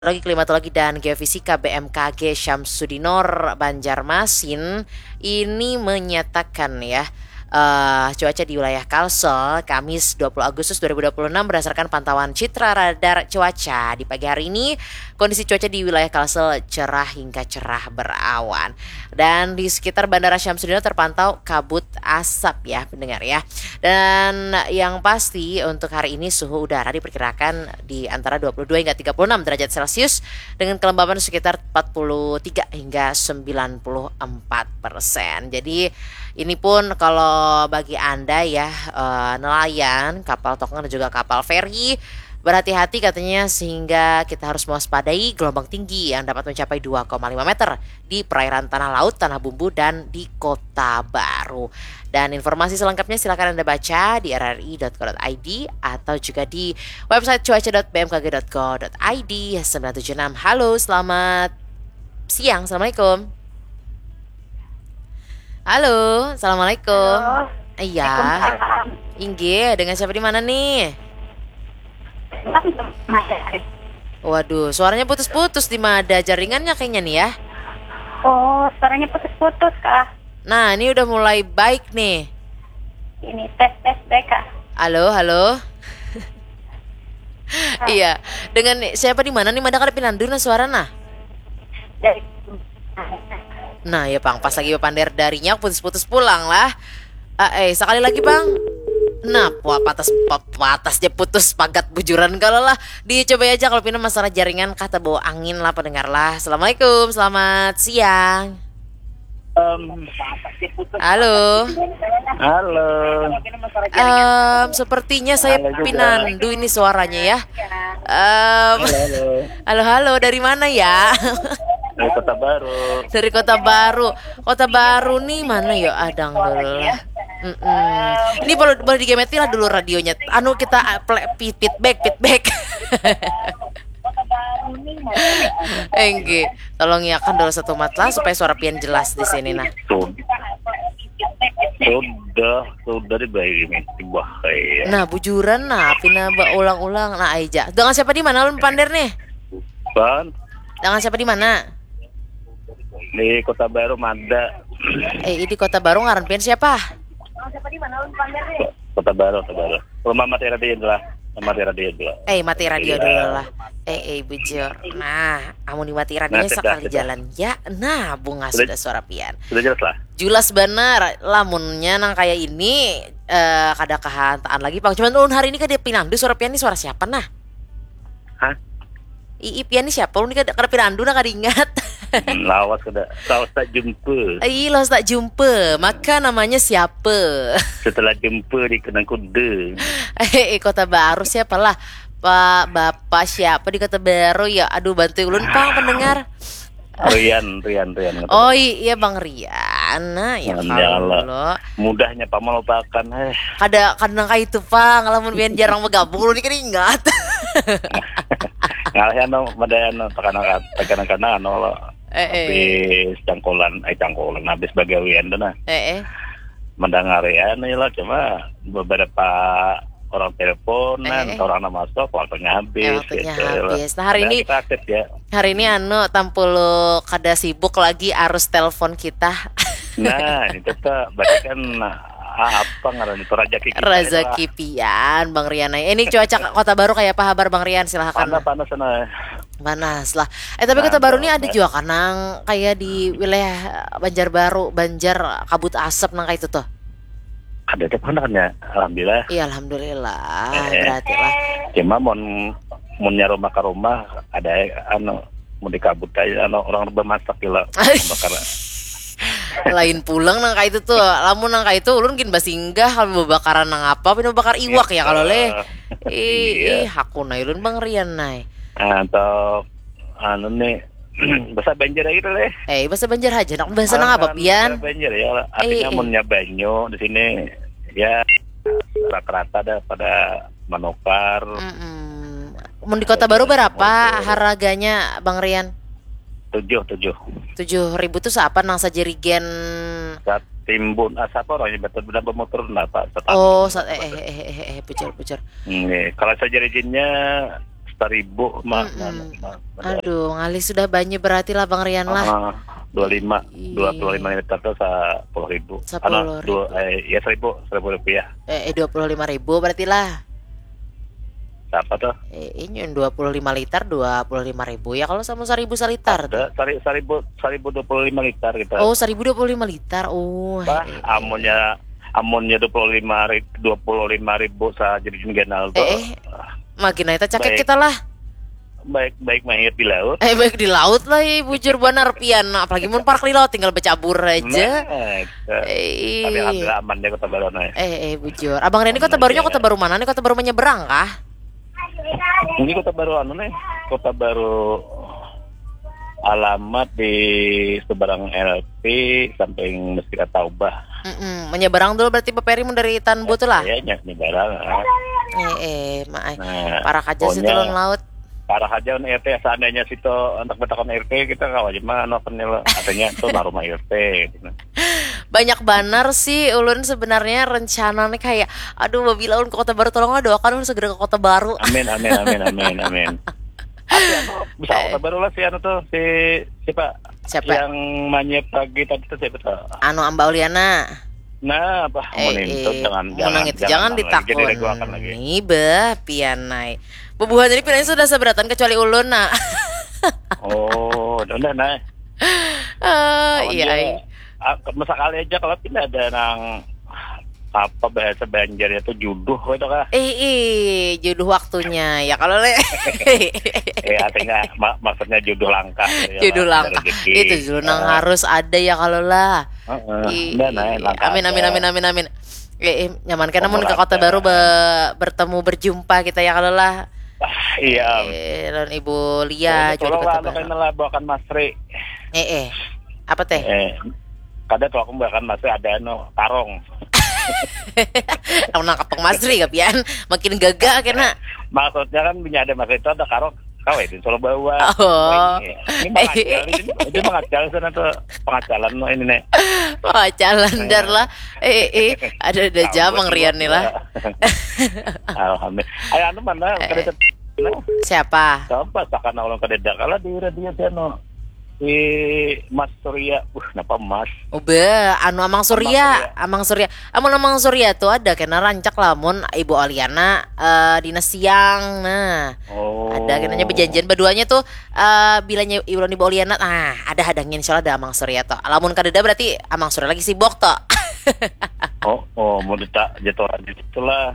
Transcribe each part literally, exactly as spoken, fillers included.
Meteorologi, Klimatologi, dan Geofisika B M K G Syamsudinor Banjarmasin ini menyatakan ya, eh, cuaca di wilayah Kalsel, Kamis dua puluh Agustus dua ribu dua puluh enam, berdasarkan pantauan citra radar cuaca di pagi hari ini, kondisi cuaca di wilayah Kalsel cerah hingga cerah berawan. Dan di sekitar Bandara Syamsudinor terpantau kabut asap ya, pendengar ya. Dan yang pasti untuk hari ini suhu udara diperkirakan di antara dua puluh dua hingga tiga puluh enam derajat Celcius dengan kelembapan sekitar empat puluh tiga hingga sembilan puluh empat persen. Jadi ini pun kalau bagi Anda ya, eh, nelayan, kapal tongkang dan juga kapal feri, berhati-hati katanya, sehingga kita harus mewaspadai gelombang tinggi yang dapat mencapai dua koma lima meter di perairan Tanah Laut, Tanah Bumbu, dan di Kota Baru. Dan informasi selengkapnya silakan Anda baca di R R I dot co dot I D atau juga di website cuaca dot B M K G dot co dot I D sembilan tujuh enam. Halo, selamat siang. Assalamualaikum. Halo, assalamualaikum. Halo. Iya. Waalaikumsalam. Inggih, dengan siapa di mana nih? Waduh, suaranya putus-putus di mana? Ada jaringannya kayaknya nih ya. Oh, suaranya putus-putus, Kak. Nah, ini udah mulai baik nih. Ini tes, tes, tes, Kak. Halo, halo. Iya, dengan siapa di mana nih? Mada kada pinandu nah suara nah. Dari Nah, ya pang, pas lagi bapander darinya putus-putus pulang lah. Ah, eh, sekali lagi pang. Nah, puah patas pa- patas dia putus pagat bujuran kalau lah. Dicoba aja kalau pina masalah jaringan kah tabawa angin lah pendengar lah. Assalamualaikum, selamat siang. Em, Halo. halo. Em, sepertinya saya Halo juga. Pinandu ini suaranya ya. Em, Halo, halo. Halo, halo, dari mana ya? Dari Kota Baru. Dari Kota Baru. Kota Baru nih mana ya? Adang dulu lah. Mm-mm. Ini boleh boleh digemeti lah dulu radionya. Anu kita ah, play, feedback, feedback. Enggih, tolong iakan dulu satu mat lah supaya suara pian jelas di sini nah. Sud- Sudah, sudah dibayar ini. Wah, kayak. Nah, bujuran nah, pina ulang-ulang nah aja. Dengan siapa di mana ulun pander nih? Pan, Dengan siapa di mana? di Kota Baru Mada. Eh, di Kota Baru ngaran pian siapa? Kota Baru, Kota Baru. Rumah mati radio dulu lah. Rumah mati radio dulu. Eh, mati radio Iya. Dulu lah. Eh, eh, bujur. Nah, amun dimati radionya Nah, sudah, sekali sudah. Jalan ya. Nah, bunga Sudah. Sudah suara pian. Sudah jelas lah. Jelas benar. Lamunnya nang kayak ini eh kada kahantaan lagi pang. Cuman ulun hari ini kada pinandu suara pian nih suara siapa nah? Hah? Ii pian nih siapa? Ulun kada kada pinandu nah kada ingat. Hmm, lawas kada. Lawas tak jumpa. Ih, lawas tak jumpa. Maka namanya siapa? Setelah jumpa di kenang kuda. Eh, eh, Kota Baru siapa lah? Pak Bapak siapa di Kota Baru ya? Aduh, bantu ulun pang pendengar. Rian, Rian, Rian. Oh iya Bang Rian. Nah, ya Hmm, kalau ya Allah. Lo. Mudahnya pamal pakan eh. Kada kada nang itu pang. Lamun pian jarang bergabung ulun ni kada ingat. Ngalih anu pada anu tekanan tekanan anu lo. Eh, eh. Habis cangkolan, eh cangkolan habis bagawian tu nah. Eh, eh. Mendengar ya anu lah cuma beberapa orang teleponan, Eh, eh. Orang nang masuk, waktunya habis. Eh, waktunya gitu, ya lah. Habis. Nah, hari Nah, ini kita aktif ya. Hari ini anu tampulu kada sibuk lagi arus telepon kita. Nah, ini kita berarti kan ah, apa ngaran itu rezeki kita. Rezeki pian Bang Rian. Ini cuaca Kota Baru kayak apa habar Bang Rian? Silahkan. Panas panas sana. Panas lah. Eh tapi Kota Baru ini ada Panas. Juga kan nang kayak di wilayah Banjarbaru, Banjar kabut asap nang kayak itu tuh. Ada ada panas ya, alhamdulillah. Iya alhamdulillah. Eh. Berarti lah. Cuma mun munnya rumah ke rumah ada anu mau dikabut aja anu orang bemasak gila bakar. Lain pulang nang kayak itu tuh. Lamun nang kayak itu ulun gin basinggah kalau bebakaran nang apa pina bakar iwak ya kalau leh. Ih, Iya. Ih, hakuna ulun Bang Rian nai. Atau anu nih bahasa Banjar aja gitu leh. Eh, bahasa Banjar aja nak bahasa nang apa pian? Banjar ya. Artinya Eh, eh. Munnya banyu di sini ya rata-rata ada pada menukar. Mm-mm. Mun di Kota Baru berapa harganya Bang Rian? Tujuh tujuh. Tujuh ribu tuh seapa nang sajerigen? Satimbun ah siapa orangnya betul benar bermotor apa? Oh, sa- eh eh eh eh eh pucur pucur. Nih, kalau sajerigennya seribu ma, ma, Mm-mm. ma, ma, Aduh, ngalih sudah banyak berarti lah Bang Rian lah. Ah, dua lima, Iya. Dua puluh lima liter tu sa sepuluh ribu. Sepuluh Anak dua, ribu. Eh, ya seribu, seribu rupiah. Eh, eh, dua puluh lima ribu berarti lah. Siapa tuh? Eh, ini dua puluh lima liter, dua puluh lima ribu. Ya kalau sama seribu saliter tuh. Ada sari, seribu, seribu dua puluh lima liter kita. Oh, seribu dua puluh lima liter. Oh, Bah, eh, eh. Amunnya, amunnya dua puluh lima ribu, dua puluh lima ribu saja di ganal tuh. Eh, eh. Makin naik cakek Baik. Kita lah. Baik, baik mahir di laut. Eh, baik di laut lah, eh, bujur banar pian. Nah, apalagi mun parak di laut tinggal bercabur aja. Nah, itu. Eh, Tapi alhamdulillah aman deh Kota Baru nih. Eh, eh, bujur. Abang Rian ini Kota Barunya Kota Baru mana nih? Kota Baru menyeberang kah? Ini Kota Baru anu nih, Kota Baru alamat di seberang L P samping Masjid At-Taubah. Mm-mm. Menyeberang dulu berarti beperi mun dari Tanbu tuh lah. Kayaknya nyeberang. Ah. Eh, eh, maai. Nah, Parak aja sih pokoknya turun laut. Parah aja on R T, seandainya situ untuk betakan R T kita kawa aja mah anu apa nih lo, katanya tuh nah rumah R T gitu. Banyak banar sih ulun sebenarnya rencana nih kayak, aduh, babila ulun ke Kota Baru, tolonglah doakan ulun segera ke Kota Baru. Amin, amin, amin, amin, amin. Tapi anu, bisa Kota Baru lah si anu tuh, si siapa? Siapa? Yang manye pagi tadi tuh siapa tuh? Anu, Amba Uliana. Nah, apa? Eh, Menintun eh, jangan, menang jangan, itu jangan jangan lagi, jadi ditakun. Diguakan lagi. Nih bah, pianai. Bubuhan ini pinanya sudah seberatan kecuali ulun nah. Oh, udah nah. Eh, iya, Awannya, ai. Ah, ke- sekali aja kalau tidak ada nang apa bahasa Banjarnya tuh juduh itu kah? Eh, eh, jodoh waktunya ya kalau le. Eh, artinya ma- maksudnya juduh langkah ya, Jodoh lah, langkah. Rezeki. Itu dulu nang Ah, harus ada ya kalau lah. heeh. Ih, Udah nah, langkah amin, amin, aja. Amin, amin, amin. Eh, eh, nyaman kena mun ke Umur Kota ada. Baru be- bertemu berjumpa kita ya kalau lah. Ah, iya. Eh, lawan Ibu Lia Tolong juga lah, Kota anu Baru. Kena lah bawakan Masri. Eh, eh. Apa teh? Eh, kada tuh aku bahkan masih ada anu karong. Kamu nangkap Bang Masri kapian, makin gagah kena. Maksudnya kan punya ada Masri itu ada karong. Kau itu solo bawa. Oh. Ini, ini mangajal di sini. Itu mangajal sana tuh pengajalan no ini nih. Wah, jalan dar lah. Eh, eh, ada ada Tahu jamang buat Rian nih lah. Alhamdulillah. Ayo anu mana Eh, kada eh. tet- nah, Siapa? Siapa sakana orang kada ada kalau di radio sana. Di Mas Surya. Uh, kenapa Mas? Ube, anu Amang Surya, Surya. Amang Surya. Amun Amang Surya tuh ada kena rancak lamun Ibu Oliana eh, dina siang. Nah, Oh. ada kenanya berjanjian berduanya tuh eh bilanya ulun Ibu Oliana. Nah, ada hadangnya insya Allah ada Amang Surya tuh. Lamun kadada berarti Amang Surya lagi sibuk tuh. Oh, oh, mau dita jadwal aja itulah.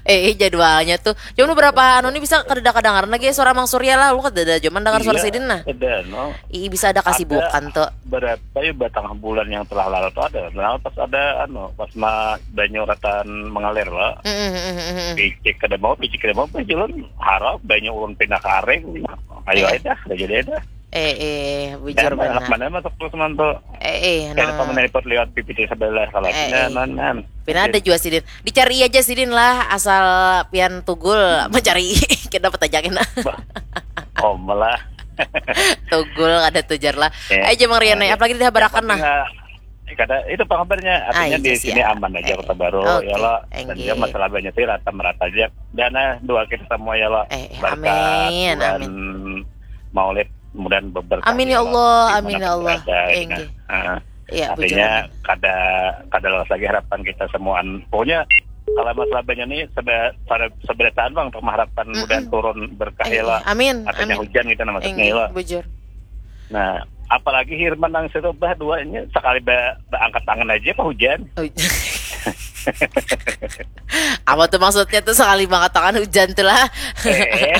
Eh, eh, jadwalnya tuh. Cuma beberapa anu nih bisa kadada kadangaran lagi suara Amang Surya lah. Lu kadada cuman dengar suara Iya, sidin nah. Ada no. Ih, bisa ada kasibukan tuh. Berapa ya batang bulan yang telah lalu tuh ada. Nah, pas ada anu, pas ma banyu ratan mengalir lah. Mm, mm, mm, mm, mm. Picik kada mau, picik kada mau, picik ulun harap banyu ulun pindah karing. Ayo Eh. Aja dah, udah jadi aja. Eh, eh, bujur Dan anak benar. Mana masuk terus mantu. Eh, eh, Kayak apa nah. Menelpon lewat P P T sebelah kalau Eh, punya eh. nan nan. Pina ada juga sidin. Dicari aja sidin lah asal pian tugul mencari kita dapat aja kena. Oh malah. Tugul ada tujar lah. Eh, Aja Mang Rian, eh, apalagi dihabarakan nah. Nggak, eh, kada itu apa kabarnya? Artinya Ah, di iya, sini siap. Aman aja Eh, Kota Baru oke, ya lo. Dan enggih. Dia masalah banyak sih rata merata aja. Dan eh, doa kita semua ya lo. Eh, eh, Berkah amin, bulan amin. Maulid mudah berkah Amin ya lo, Allah, di amin mana ya Allah. berada, gitu. Enggih. Nah, Iya, artinya bujur. kada kada lolos lagi harapan kita semua. Pokoknya kalau masalah banyak nih sebe- sebe- seberataan bang untuk mengharapkan Mm-mm. mudah turun berkah Eh, ya lo. amin, Artinya amin. Hujan kita maksudnya Enggih, lo. Bujur. Nah, apalagi Hirman nang situ bah dua ini sekali ba- baangkat tangan aja apa hujan. Oh, apa tuh maksudnya tuh sekali mengatakan hujan tuh lah. Eh,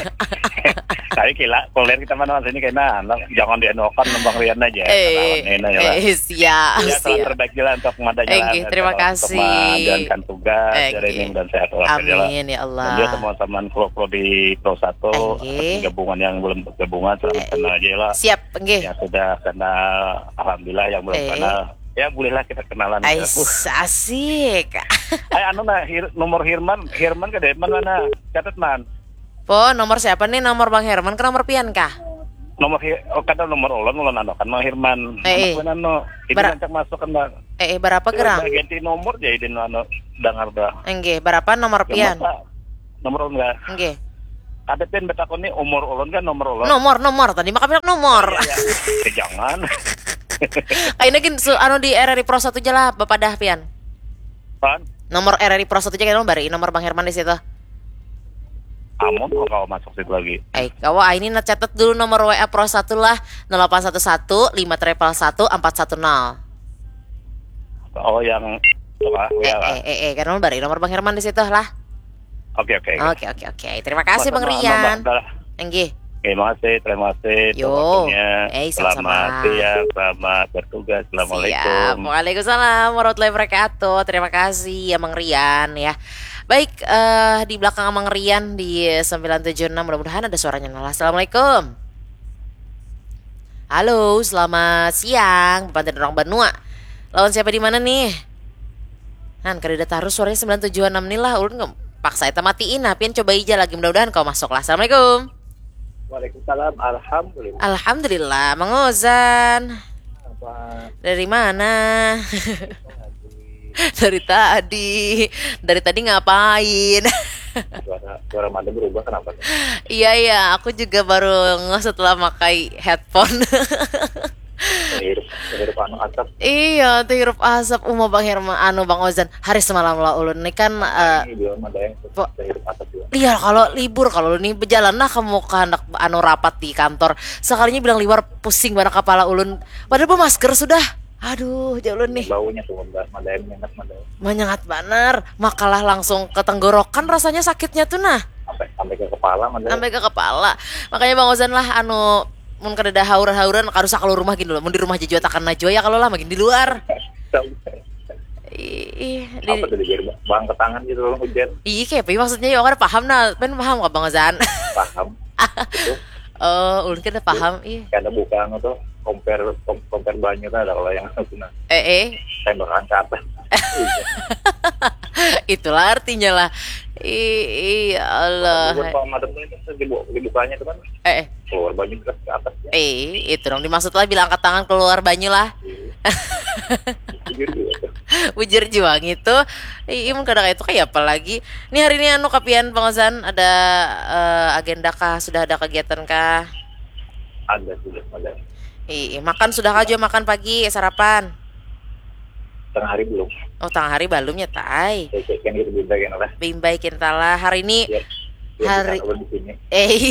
tapi kila kuliah kita mana sini kena anak jangan dianuakan nembang Rian aja. Eh, Katakan ini aja lah. Eh, siap, Ya, salam siap. terbaik lah untuk madanya lah, Enggih, terima untuk kasih. Menjalankan tugas Enggih. dari ini dan sehat walafiat ya lah. Amin ya Allah. Dan juga teman-teman kru-kru di Pro satu Enggih. gabungan yang belum gabungan selamat Eh, kenal aja lah. Siap, enggih. Yang sudah kenal, alhamdulillah, yang belum Eh. Kenal, ya bolehlah kita kenalan. Ais, Uh, asik. Eh anu nah hir, nomor Hirman, Hirman ke Depan mana? Catat man. Po, nomor siapa nih? Nomor Bang Herman ke nomor pian kah? Nomor hir, oh, kada nomor ulun ulun anu kan Mang Hirman. Eh, eh. Anak ulun anu. Ini Bara- rancak masuk kan Bang. Eh, eh, berapa gerang? Ganti nomor jadi anu dengar dah. Enggih, berapa nomor pian? Nomor ulun enggak? Enggih. Kada pian batakun ni umur ulun kan nomor ulun. Nomor, nomor tadi maka bilang nomor. Ya, eh, jangan. Kaina gin su, anu di R R I Pro satu ja lah bapadah pian. Pan, Nomor R R I Pro satu ja kaina bari nomor Bang Herman di situ. amun kok kawa masuk situ lagi. Eh, kawa ah, ini nah catat dulu nomor W A Pro satu lah, nol delapan satu satu lima triple satu empat satu nol. Oh, yang apa? Eh, Ya lah. eh, eh, eh, kan nomor bari nomor Bang Herman di situ lah. Oke, oke. Oke, oke, oke. Terima kasih Bang Masa Rian. nambah, dah. Enggih. Oke, makasih. Terima kasih. Yo. Waktunya. Eh, Selamat sama-sama. Siang, selamat bertugas. Siap. Assalamualaikum. Waalaikumsalam warahmatullahi wabarakatuh. Terima kasih ya Mang Rian ya. Baik, eh, di belakang Mang Rian di sembilan tujuh enam, mudah-mudahan ada suaranya. Nah, assalamualaikum. Halo, selamat siang. Bapak dan orang Banua. Lawan siapa di mana nih? Han, kada ada tarus suaranya sembilan tujuh enam nih lah. Ulun nge- paksa eta matiin. Nah, pian coba ija lagi, mudah-mudahan kau masuk lah. Assalamualaikum. Waalaikumsalam. Alhamdulillah. Alhamdulillah, Mang Ozan. Apa Dari mana? lagi Dari tadi. Dari tadi ngapain? Suara suara mata berubah kenapa tuh? Iya, iya, aku juga baru ngeh setelah pakai headphone. Hirup hirup anu asap. Iya, tuh hirup asap uma Bang Herman, anu Bang Ozan. Hari semalam lah ulun nih kan eh, Ini belum ada yang Po- hirup asap juga. Iya, kalau libur, kalau ulun nih berjalan lah kamu ke hendak anu rapat di kantor. Sekalinya bilang liwar pusing banget kepala ulun. Padahal bermasker sudah. Aduh, jauh ulun nih. Baunya tuh, madai menyengat madai. Menyengat banar. Makalah langsung ke tenggorokan rasanya sakitnya tuh nah. Sampai sampai ke kepala madai. Sampai ke kepala. Makanya Bang Ozan lah anu mun kada ada haur-hauran kada usah keluar rumah gini loh. Mun di rumah jua takana jua ya kalau lah makin di luar. Ih, ih, di, Apa tadi biar ba- bang ke tangan gitu loh hujan. Ih, kayak apa ya maksudnya ya? Aku kada paham nah. Pen paham kah Bang Ozan? Paham. Itu Oh, ulun kada paham. Ih. Karena buka anu tuh compare com- compare banyu tuh ada kalau yang aku nah Eh, eh. tembakan ke atas. Itulah artinya lah. Ih, ih, ya Allah. Bukan kalau madam tuh itu dibu- dibukanya tuh kan Eh, eh. Keluar banyu terus ke atas ya. Eh, itu dong dimaksud lah bila angkat tangan keluar banyu lah. Jujur juga tuh. Bujur jua gitu. Ih, mun kada kayak itu kayak apa lagi? Nih hari ini anu kapian Bang Ozan ada eh, agenda kah? Sudah ada kegiatan kah? Ada sudah ada. Ih, makan sudah kah jua makan pagi sarapan? Tengah hari belum. Oh, tengah hari belum ya, Tai. Saya cek yang gitu beda yang lah. Bimbai kintalah hari ini Ya. Ya, Hari- kita di sini. Eh,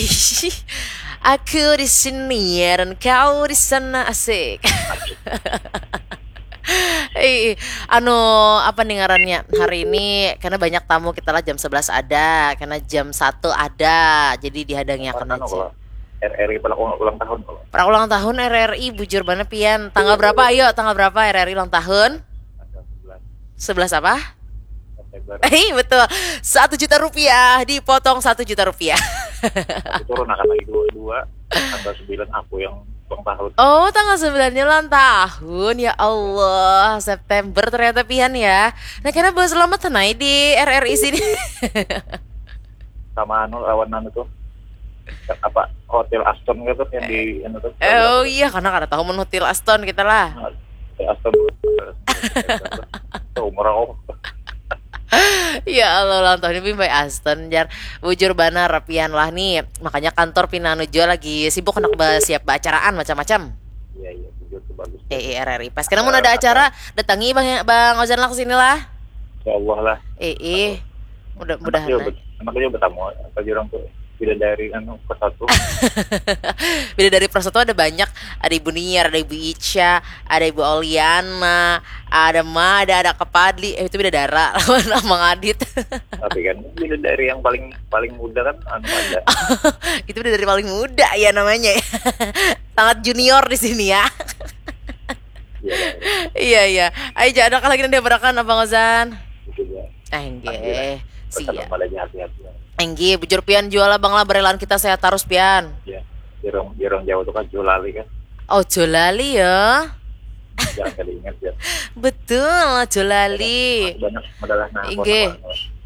aku di sini ya dan kau di sana asik. Eh, anu apa nih ngarannya hari ini karena banyak tamu kita lah jam sebelas ada, karena jam satu ada, jadi dihadangi akan Anu aja. Kalau R R I pada ulang, ulang tahun kalau Para ulang tahun R R I bujur banget pian. Tanggal berapa? Ayo, tanggal berapa R R I ulang tahun? Tanggal sebelas Sebelas apa? September. Eh betul, satu juta rupiah dipotong satu juta rupiah. Aku turun akan lagi dua dua tanggal sembilan aku yang ulang tahun. Oh, tanggal sembilannya ulang tahun. Ya Allah, September ternyata pian ya. Nah, karena bawa selamat tenai di R R I sini. Sama anu lawan anu tuh apa Hotel Aston gitu yang di anu tuh. Oh iya, karena kada tahu mun Hotel Aston kita lah. Hotel Aston tuh. Tuh, umur aku. Ya Allah, ulang tahun ini by Aston jar. Bujur banar pian lah nih. Makanya kantor pina anu jua lagi sibuk hendak ba- siap baacaraan macam-macam. Iya iya jujur tuh bagus. Eh, eh, R R I. Pas kena mun ada acara, datangi Bang Bang Ozan lah ke sini lah. Ya Allah lah. Eh, eh. Mudah-mudahan. Iya, Lah. bet- makanya bertamu apa jurang tuh bidadari anu ke satu. Bidadari Pro satu ada banyak. Ada Ibu Niar, ada Ibu Ica, ada Ibu Oliana, ada Mada, ada Kepadli. Eh, itu bidadara lawan Mang Adit. Tapi kan bidadari yang paling paling muda kan anu ada. Itu bidadari paling muda ya namanya. Ya. Sangat junior di sini ya. Iya. Iya, iya. Ayo, jangan ada lagi nanti berakan Abang Ozan. Itu ya. Enggih. Pesan Siap. Malanya hati-hati. Enggih, bujur pian jual Abang lah berelaan kita sehat terus pian. Ya. Di orang di orang Jawa tuh kan julali kan. Oh, julali ya. Jangan kali ingat ya. Betul, julali. Banyak adalah nah. Inggih. Apa-apa.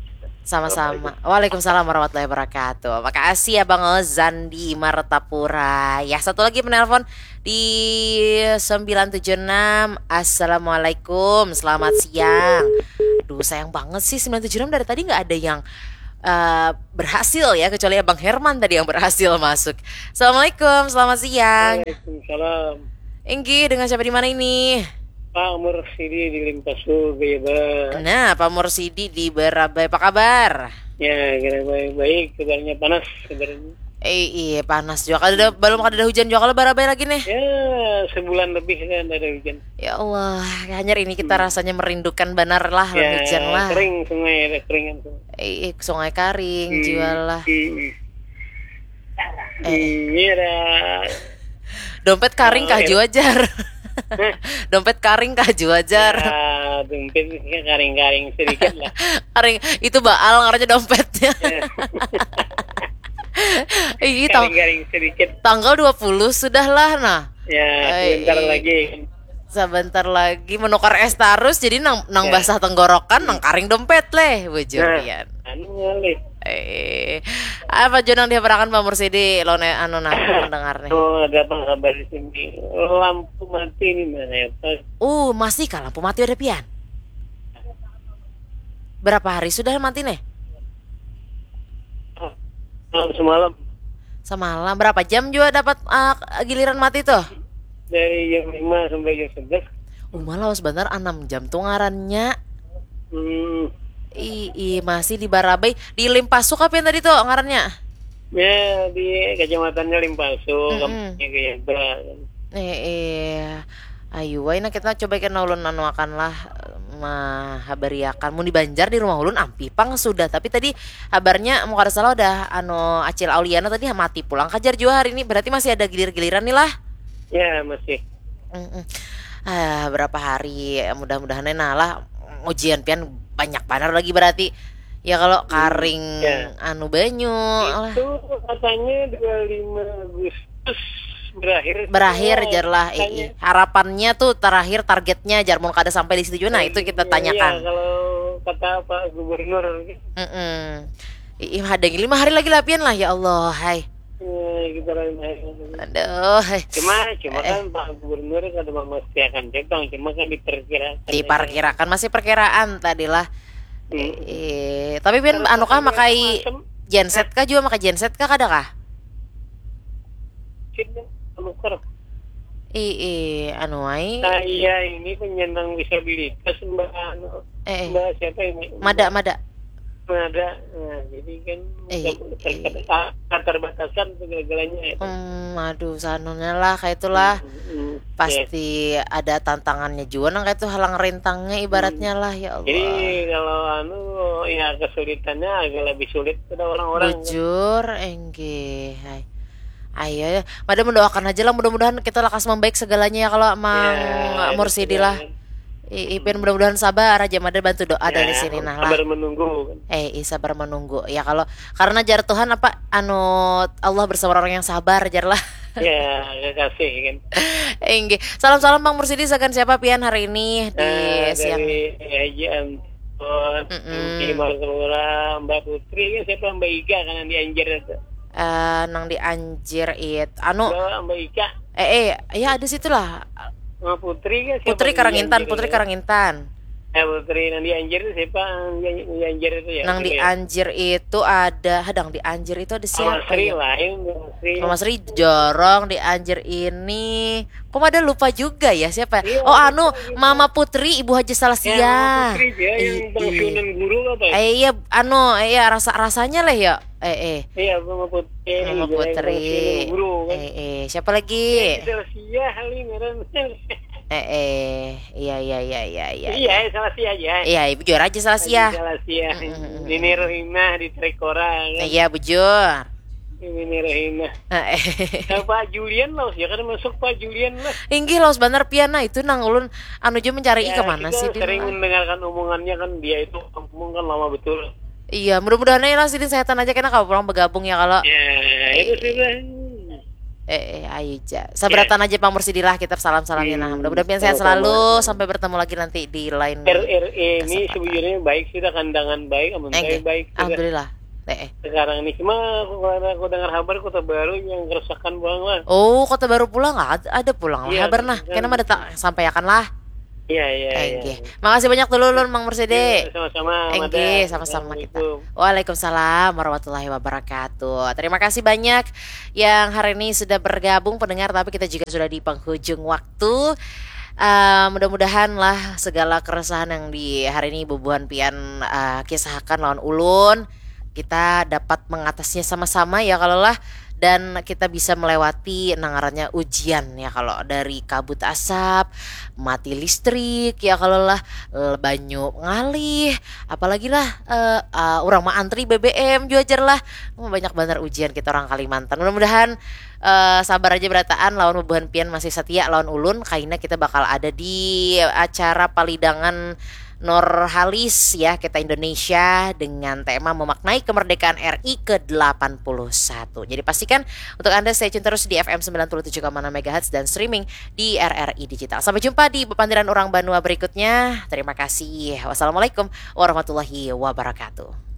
Sama-sama. Waalaikumsalam warahmatullahi wabarakatuh. Makasih Abang Ozan di Martapura. Ya, satu lagi penelpon di sembilan tujuh enam. Assalamualaikum, selamat siang. Duh, sayang banget sih sembilan tujuh enam dari tadi nggak ada yang eh, berhasil ya, kecuali Abang Herman tadi yang berhasil masuk. Assalamualaikum, selamat siang. Waalaikumsalam. Inggih, dengan siapa di mana ini? Pak Mursidi di Limpasu, Beba. Nah, Pak Mursidi di Barabai, apa kabar? Ya, kira baik-baik, kabarnya panas, kabarnya. Eh, iya, panas juga. Kada ada, belum kada ada hujan juga kalau Barabai lagi nih. Ya, sebulan lebih kan ada hujan. Ya Allah, hanyar ini kita rasanya merindukan banar lah, Ya, hujan lah. Kering sungai, ada keringan sungai. Eh, eh, sungai karing, Hmm, jual lah. hmm. Ini ada Dompet karing kah jua jar. Dompet karing kah jua jar. Ya, dompetnya karing-karing sedikit lah. Karing itu baal ngarannya dompetnya. Ih, tang- Karing-karing sedikit. Tanggal dua puluh sudah lah nah. Ya, Ai, sebentar iya. Lagi. Sebentar lagi menukar es tarus, jadi nang nang Ya. Basah tenggorokan, nang karing dompet leh, bujur Nah, pian. Anu ngalih. Eh, apa jua nang dihabarakan Pak Mursidi, lo ne anu nah pendengar nih. Oh, ada apa kabar di sini? Lampu mati nih mana ya, Pak? Uh, masih kah lampu mati ada pian? Berapa hari sudah mati nih? Malam semalam Semalam. Berapa jam juga dapat uh, giliran mati tuh? Dari jam lima sampai jam sebelas. Uma lawas benar enam jam tuh ngarannya. Hmm, Ih, ih, masih di Barabai, di Limpasu kah pian tadi tuh ngarannya? Ya, di kecamatannya Limpasu, Mm-mm. Kampungnya Gayaba. Eh, eh. Ayu, wai nah kita coba kena ulun anu akan lah, mahabariakan. Mun di Banjar di rumah ulun ampih pang sudah, tapi tadi habarnya mun kada salah udah anu Acil Auliana tadi mati pulang kajar jua hari ini, berarti masih ada gilir-giliran nih lah. Ya, masih. Mm-mm. Ah, berapa hari, mudah-mudahan nah lah ujian pian banyak banar lagi berarti. Ya kalau karing Ya. Anu banyu lah. Itu katanya dua puluh lima Agustus berakhir. Berakhir semua. Jar lah. Katanya. Ii. Harapannya tuh terakhir targetnya jar mun kada sampai di situ juga nah itu kita Iya, tanyakan. Kalau kata Pak Gubernur, Mm-mm. Ii, ada lima hari lagi lah pian lah ya Allah hai. eh, kita lain hari. Aduh hai. Cuma, cuma kan Pak Gubernur kada memastikan jepang, cuma kan diperkirakan. Diperkirakan masih perkiraan tadi lah. Hmm. Eh, tapi pian anu kah makai genset kah juga makai genset kah kada kah? Kita nuker. Ii, anu ai. Saya ini penyandang disabilitas, Mbak, anu, Eh, eh. Mbak siapa ini? Mada mada. Mada. Nah, jadi kan Eh, ter- ter- keterbatasan segala-galanya ya. Hmm, aduh sanunya lah kayak itulah. Hmm, Pasti ada tantangannya juga nang kayak itu halang rintangnya ibaratnya lah ya Allah. Jadi kalau anu ya kesulitannya agak lebih sulit pada orang-orang. Bujur, enggih. Hai. Ayo ya, mada mendoakan aja lah mudah-mudahan kita lakas membaik segalanya ya kalau Mang Ya, Mursidi betul lah. banget. I- Ipin mudah-mudahan sabar aja mada bantu doa dari Ya, sini nah lah. Sabar menunggu kan. Eh, ih, sabar menunggu. Ya kalau karena jar Tuhan apa anu Allah bersama orang yang sabar jar lah. Ya, kekasih kan. Enggih. Salam-salam Bang Mursidi sagan siapa pian hari ini di Eh, siang. Dari Haji Anton, Mm-mm. Di Martapura, Mbak Putri, ya siapa Mbak Iga kan yang di Anjir itu. Eh, nang di Anjir it anu Mbak, Mbak Ika, eh eh ya ada situ lah. Mbak Putri kan siapa Putri di Karangintan, Anjir Putri itu? Karangintan. Ya Putri, yang di Anjir itu siapa? Yang di Anjir itu ya. Nang di Putri. Anjir itu ada, hadang di Anjir itu ada Mama siapa Sri ya? Lain, Mama Sri. Mama Sri jorong di Anjir ini. Kok ada lupa juga ya siapa? Iya, Oh anu lupa, lupa. Mama Putri, Ibu Haji Salasia. Ya, Mama Putri dia yang I- i- pensiunan guru apa? Eh iya anu iya rasa rasanya lah ya. Eh eh. Iya, Mama Putri. Mama Dia yang Putri. pensiunan guru kan. Eh eh siapa lagi? Salasia kali ngaran. Eh eh iya iya iya iya iya. Iya, Salasia aja. Iya, Ibu juara aja Salasia. Salasia. Mm, mm, mm, Nini Rohimah di Trekora kan. Iya bujur. Nini Rohimah. Eh, eh. Nah, Pak Julian lah, ya kan masuk Pak Julian lah. Inggih lawas banar pian nah itu nang ulun anu jua mencari Ya, ke mana kita sih dia sering lah. Mendengarkan omongannya kan dia itu ngomong kan lama betul. Iya, mudah-mudahan ya lah sidin sehatan aja kena kalau pulang bergabung ya kalau. Ya, itu sudah. Eh, eh, ayo ja. Sabaratan aja Pak Mursidi lah kita salam-salamnya nah. Mudah-mudahan pian sehat Sama-sama. Selalu sampai bertemu lagi nanti di lain. R R E ini Kesempatan. Sebujurnya baik sudah, kandangan baik, amun Enggih. baik sudah. Alhamdulillah. Eh, eh. Sekarang ini cuma aku, aku dengar kabar Kota Baru yang kerusakan buang lah. Oh, Kota Baru pulang ada, ada pulang lah Iya, habar nah. kan. Kena mah datang sampaikan lah. Iya, iya, iya. Enggih. Makasih banyak dulu ulun, Mang Mursidi. Iya, sama-sama, Mada. Enggih, sama-sama kita. Assalamualaikum. Waalaikumsalam warahmatullahi wabarakatuh. Terima kasih banyak yang hari ini sudah bergabung, pendengar, tapi kita juga sudah di penghujung waktu. Eh, mudah-mudahan lah segala keresahan yang di hari ini bubuhan pian, eh, kisahkan lawan ulun, kita dapat mengatasinya sama-sama ya kalau lah, dan kita bisa melewati nang ngarannya ujian ya kalau, dari kabut asap, mati listrik ya kalau lah, eh, banyu ngalih, apalagi lah, eh, eh, orang maantri B B M jua jar lah. Hmm, banyak banar ujian kita orang Kalimantan. Mudah-mudahan, eh, sabar aja berataan lawan bubuhan pian masih setia lawan ulun, kaina kita bakal ada di acara palidangan Nurhalis ya, kita Indonesia, dengan tema memaknai kemerdekaan R I ke delapan puluh satu. Jadi pastikan untuk Anda stay tune terus di F M sembilan puluh tujuh koma enam megahertz dan streaming di R R I Digital. Sampai jumpa di Bepandiran Urang Banua berikutnya. Terima kasih. Wassalamualaikum warahmatullahi wabarakatuh.